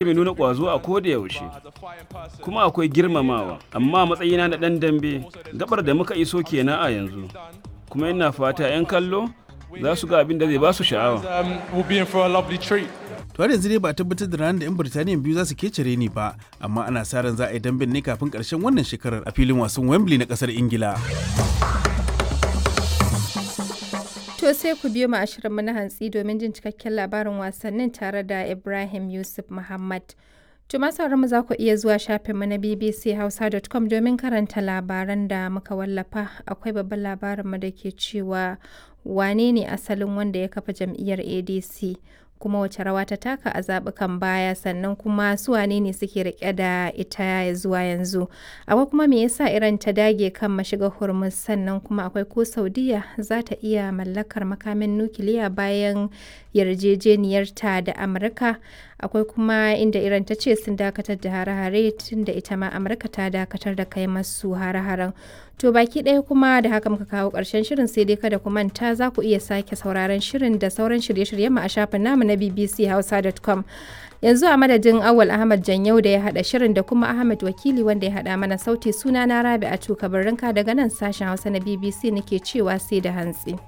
Mai nuna ƙwazo a koda yaushe, kuma akwai girmamawa, amma a matsayina na ɗan dambe, gaɓar da muka iso ke nan a yanzu, kuma ina fata 'yan kallo za su ga abin da zai ba su sha'awa. To har yanzu dai ba a tabbatar da ranar da 'yan Birtaniya biyu za su kece reni ba, amma ana sa ran za a yi damben ne kafin ƙarshen wannan shekarar a filin wasan Wembley na ƙasar Ingila. To sai ku biyo mu a shirinmu na hantsi domin jin cikakken labarin wasannin tare da Ibrahim Yusuf Muhammad. To masu mu za ku iya zuwa shafinmu na bbchausa.com domin karanta labaran da muka wallafa. Akwai babban labarinmu da ke cewa wane ne asalin wanda ya kafa jam'iyyar ADC kuma wace rawa ta taka a zaɓukan baya, sannan kuma su wane ne suke rike da ita zuwa yanzu. Akwai kuma me yasa Iran ta dage kan mashigar Hormuz, sannan kuma akwai ko Saudiya za ta iya mallakar makamin nukiliya bayan yarjejeniyarta da Amurka. Akwai kuma inda Iran ta ce sun dakatar da hare-hare tun da ita ma Amurka ta dakatar da kai masu hare-haren. To baki ɗaya kuma da haka muka kawo ƙarshen shirin, sai dai kada ku manta za ku iya sake sauraron shirin da sauran shirye-shiryen mu a shafin namu na bbchausa.com. Yanzu a madadin Awal Ahmad Janyau da ya haɗa shirin da kuma Ahmad Wakili wanda ya haɗa mana sauti, suna na Rabi'a Tuka Barrinka daga nan sashen Hausa na BBC nake cewa sai da hantsi.